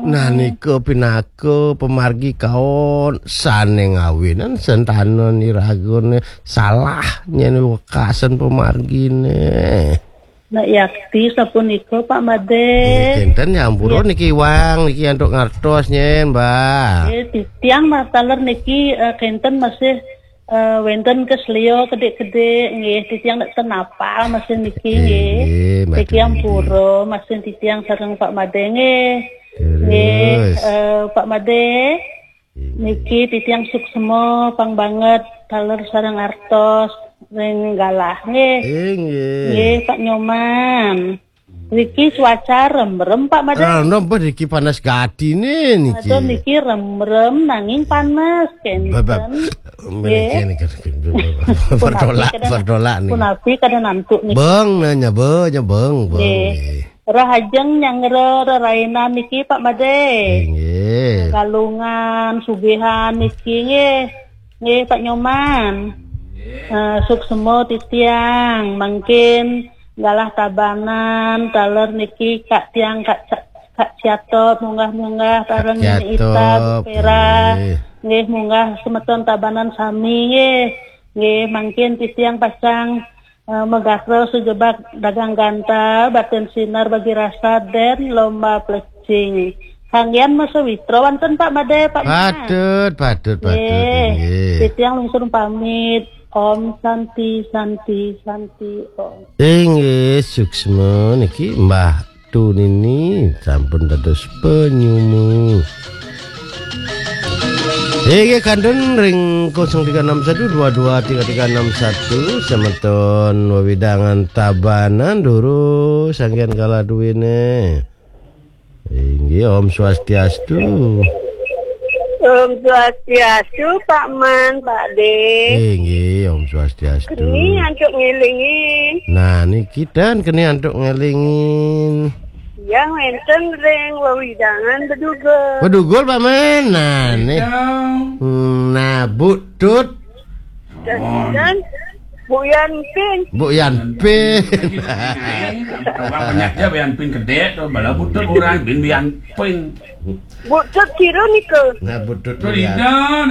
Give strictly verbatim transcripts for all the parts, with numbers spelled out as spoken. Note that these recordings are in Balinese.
Nah, nika pinaka pamargi kaon sane ngawinan sentana niragane salah nyen wekasan pamargine. Nak yakti sapunika, Pak Made. Nggih, kinten nyampura niki iwang niki antuk ngartos nyen, Mbah. Nggih, titiang mataler niki, eh, kinten masih, eh, wenten kesleo kedik-kedik nggih, titiang nek ten apal masih niki nggih. Nggih, Mbah Niki Dwi. Ampura masih titiang sareng Pak Made nggih. Nggih, Terus. Eh, Pak Made. Nggih. Niki titiang suksma pang banget taler sareng artos ring galah nggih. Eh, nggih. Nggih, Pak Nyoman. Niki cuaca remrem, Pak Made. Remrem, bah, niki panas gati nih, niki. Aduh, niki remrem nanging panas, Bab, bab. Kenten. Nggih. Niki, niki, niki, bertolak, Punapi kada, bertolak nih. Punapi kada nantuk niki. Beng, nanya, be, nya beng, beng, Nggih. Nggih. Rahajeng nyangra rerainan niki, Pak Made. Nggih. Galungan, sugihan niki, nggih. Nggih, Pak Nyoman. Eh, suksma titiang, mangkin galah tabanan, taler niki Kak tiang, Kak Ca-, Kak Ciatop, munggah-munggah, Kak sareng Nini Ita, Ciatop, Pera. Nggih. Nggih, munggah semeton tabanan sami, nggih. Nggih, mangkin titiang pacang, eh, magatra sujebag dagang ganta, batin sinar bagi rasa, den lomba plecing. Kanggian masawitra wonten Pak Made, Pak Mas. Patut, patut, patut, Nggih. Nggih. Titiang lungsur pamit. Om Santi, Santi, Santi, Om. Inggih, suksma niki Mbah Tunini sampun dados penyumu. Inggih, kantun ring kosong tiga enam satu dua dua tiga tiga enam satu, semeton wewidangan Tabanan durus sanggihan kalah duwene. Inggih, Om Swastiastu. Om Swastiastu, Pak Man, Pak De. Inggih, Om Swastiastu. Keni antuk ngelingin. Nah, niki ten keni antuk ngelingin. Yang wenten ring wewidangan Bedugul. Bedugul, Pak Man. Nah, nih. Hmm, nah, Bu Tut. Dan, dan Bu Yanpin. Bu Yanpin. Orang banyak aja Bu Yanpin gede tuh, bala Bu Tut orang bin Bu Yanpin. Bu Tut kira nika. Nah, Bu Tut Mulyati.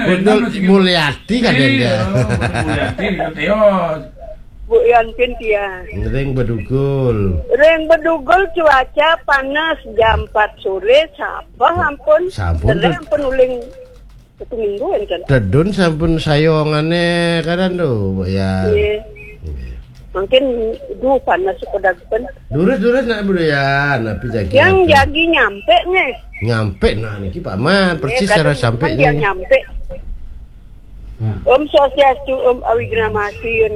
Bu Tut Mulyati kan dia. Bu Tut Mulyati nika Teos. Bu Yanpin dia. Ring Bedugul. Ring Bedugul cuaca panas jam empat sore, sabah ampun. Sampun, Tedun. Ampun uling satu minggu enten. Tedun sampun sayongane kadan tuh, Bu ya. Iya. Iya. Mungkin duh panas sekodak pun. Durus-durus nak Bu ya, napi jagi. Yang apa? Jagi nyampe nih. Nyampe nah niki Pak Man, persis kan cara sampai yang nih. Nyampe. Nah. Om Swastiastu, Om Awighnamastu,